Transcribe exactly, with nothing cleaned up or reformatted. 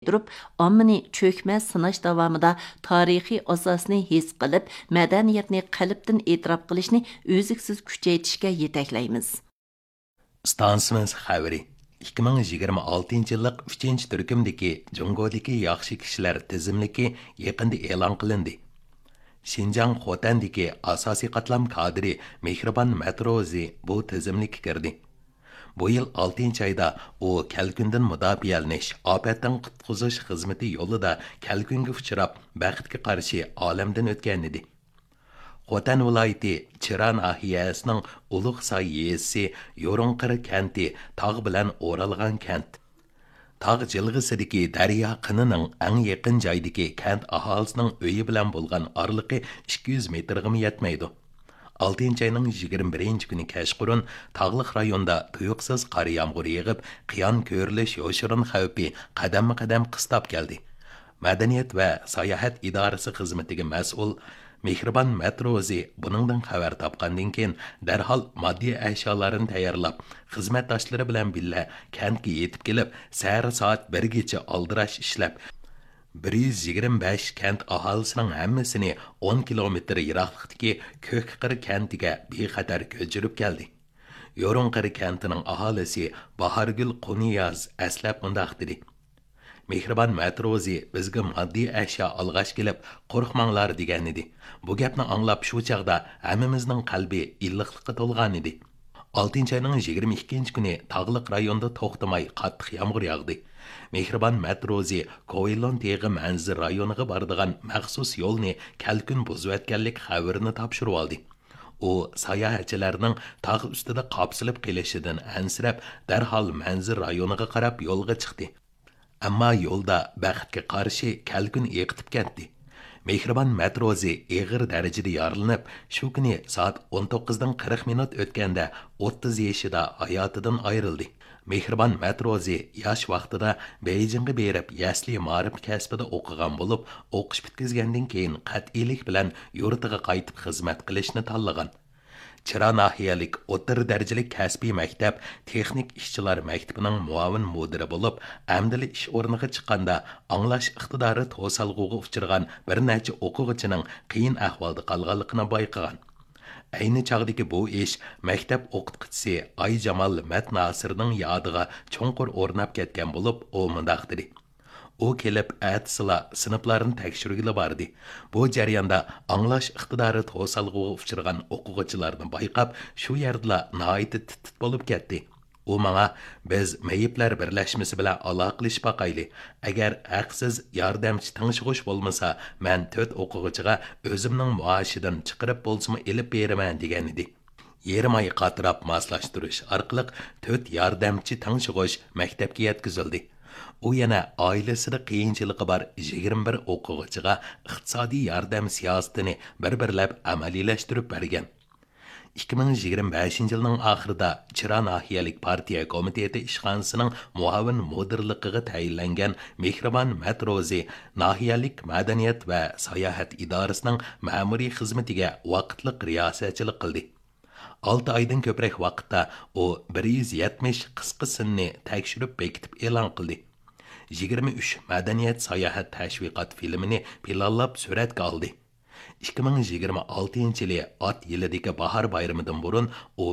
ئورۇنلاشتۇرۇپ، ئاممىنى چۆكمە سىناش داۋامىدا تارىخىي ئاساسنى ھېس قىلىپ، مەدەنىيەتنى قەلبتىن ئېتىراپ قىلىشنى ئۈزلۈكسىز كۈچەيتىشكە يېتەكلەيمىز. ئىستانسىمىز خەۋىرى. ئىككى مىڭ يىگىرمە ئالتىنچى يىللىق ئۈچىنچى تۈركۈمدىكى جۇڭگودىكى ياخشى كىشىلەر تىزىملىكى يېقىندا ئېلان قىلىندى. شىنجاڭ خوتەندىكى ئاساسىي قاتلام كادىرى مېھرىبان مەتروزى بۇ تىزىملىككە كىردى. بۇ يىل ئالتىنچى ئايدا ئۇ كەلكۈندىن مۇداپىئەلىنىش، ئاپەتتىن قۇتقۇزۇش خىزمىتى يولىدا كەلكۈنگە ئۇچراپ، بەختكە قارشى ئالەمدىن ئۆتكەنىدى. خوتەن ۋىلايىتى چىرا ناھىيەسىنىڭ ئۇلۇغ ساي يېزىسى يورۇڭقىر كەنتى تاغ بىلەن ئورالغان كەنت. تاغ جىلغىسىدىكى دەريا قىنىنىڭ ئەڭ يېقىن جايدىكى كەنت ئاھالىسىنىڭ ئۆيى بىلەن بولغان ئارىلىقى ئىككى يۈز مېتىرغىمۇ يەتمەيدۇ. ئالتىنچى ئاينىڭ يىگىرمە بىرىنچى كۈنى كەچقۇرۇن تاغلىق رايوندا تۇيۇقسىز قار يامغۇر يېغىپ، قىيان كۆرۈلۈش يوشۇرۇن خەۋپى قەدەممۇ قەدەم قىستاپ كەلدى. مەدەنىيەت ۋە ساياھەت ئىدارىسى خىزمىتىگە مەسئۇل مېھرىبان مەتروزى بۇنىڭدىن خەۋەر تاپقاندىن كېيىن، دەرھال ماددىي ئەشيالارنى تەييارلاپ، خىزمەتداشلىرى بىلەن بىللە كەنتكە يېتىپ كېلىپ، سەھەر سائەت بىرگىچە ئالدىراش ئىشلەپ، بىر يۈز يىگىرمە بەش كەنت ئاھالىسىنىڭ ھەممىسىنى ئون كىلومېتىر يىراقلىقتىكى كۆكقىر كەنتىگە بىخەتەر كۆچۈرۈپ كەلدى. يورۇڭقىر كەنتىنىڭ ئاھالىسى باھارگۈل قۇنىياز ئەسلەپ مۇنداق دېدى: مېھرىبان مەتروزى بىزگە ماددىي ئەشيا ئالغاچ كېلىپ، قورقماڭلار دېگەنىدى. بۇ گەپنى ئاڭلاپ شۇ چاغدا ھەممىمىزنىڭ قەلبى ئىللىقلىققا تولغانىدى. ئالتىنچى ئاينىڭ يىگىرمە ئىككىنچى كۈنى تاغلىق رايوندا توختىماي قاتتىق يامغۇر ياغدى. مېھرىبان مەتروزى كوۋېلون تېغى مەنزىرە رايونىغا بارىدىغان مەخسۇس يولنى كەلكۈن بۇزۇۋەتكەنلىك خەۋىرىنى تاپشۇرۇۋالدى. ئۇ ساياھەتچىلەرنىڭ تاغ ئۈستىدە قاپسىلىپ قېلىشىدىن ئەنسىرەپ، دەرھال مەنزىرە رايونىغا قاراپ يولغا چىقتى. ئەمما يولدا بەختكە قارشى كەلكۈن ئېقىتىپ كەتتى. مېھرىبان مەتروزى ئېغىر دەرىجىدە يارىلىنىپ، شۇ كۈنى سائەت ئون توققۇزدىن قىرىق مىنۇت ئۆتكەندە ئوتتۇز يېشىدا ھاياتىدىن ئايرىلدى. مېھرىبان مەتروزى ياش ۋاقتىدا بېيجىڭغا بېرىپ، يەسلى مائارىپ كەسپىدە ئوقۇغان بولۇپ، ئوقۇش پۈتكۈزگەندىن كېيىن قەتئىيلىك بىلەن يۇرتىغا قايتىپ خىزمەت قىلىشنى تاللىغان. چىرا ناھىيەلىك ئوتتۇرا دەرىجىلىك كەسپىي مەكتەپ تېخنىك ئىشچىلار مەكتىپىنىڭ مۇئاۋىن مۇدىرى بولۇپ، ئەمدىلا ئىش ئورنىغا چىققاندا، ئاڭلاش ئىقتىدارى توسالغۇغا ئۇچرىغان بىر نەچچە ئوقۇغۇچىنىڭ قىيىن ئەھۋالدا قالغانلىقىنى بايقىغان. ئەينى چاغدىكى بۇ ئىش مەكتەپ ئوقۇتقۇچىسى ئايجامال مەتناسىرنىڭ يادىغا چوڭقۇر ئورناپ كەتكەن بولۇپ، ئۇ مۇنداق دېدى: ئۇ كېلىپ، ئەتىسىلا سىنىپلارنى تەكشۈرگىلى باردى. بۇ جەرياندا ئاڭلاش ئىقتىدارى توسالغۇغا ئۇچرىغان ئوقۇغۇچىلارنى بايقاپ، شۇ يەردىلا ناھايىتى تىت-تىت بولۇپ كەتتى. ئۇ ماڭا، بىز مېيىپلەر بىرلەشمىسى بىلەن ئالاقىلىشىپ باقايلى. ئەگەر ھەقسىز ياردەمچى تىڭشىغۇچ بولمىسا، مەن تۆت ئوقۇغۇچىغا ئۆزۈمنىڭ مائاشىدىن چىقىرىپ بولسىمۇ ئېلىپ بېرىمەن، دېگەنىدى. يېرىم ئاي قاتراپ ماسلاشتۇرۇش ئارقىلىق تۆت ياردەمچى تىڭشىغۇچ مەكتەپكە يەتكۈزۈلدى. ئۇ يەنە ئائىلىسىدە قىيىنچىلىقى بار يىگىرمە بىر ئوقۇغۇچىغا ئىقتىسادىي ياردەم سىياسىتىنى بىر-بىرلەپ ئەمەلىيلەشتۈرۈپ بەرگەن. ئىككى مىڭ يىگىرمە بەشىنچى يىلنىڭ ئاخىرىدا چىرا ناھىيەلىك پارتىيە كومىتېتى ئىشخانىسىنىڭ مۇئاۋىن مۇدىرلىقىغا تەيىنلەنگەن مېھرىبان مەتروزى ناھىيەلىك مەدەنىيەت ۋە ساياھەت ئىدارىسىنىڭ مەمۇرىي خىزمىتىگە ۋاقىتلىق رىياسەتچىلىك قىلدى. ئالتە ئايدىن كۆپرەك ۋاقىتتا ئۇ بىر يۈز يەتمىش قىسقا سىننى تەكشۈرۈپ بېكىتىپ ئېلان قىلدى. يىگىرمە ئۈچ مەدەنىيەت ساياھەت تەشۋىقات فىلىمىنى پىلانلاپ سۈرەتكە ئالدى. ئىككى مىڭ يىگىرمە ئالتىنچى يىلى ئات يىلىدىكى باھار بايرىمىدىن بۇرۇن ئۇ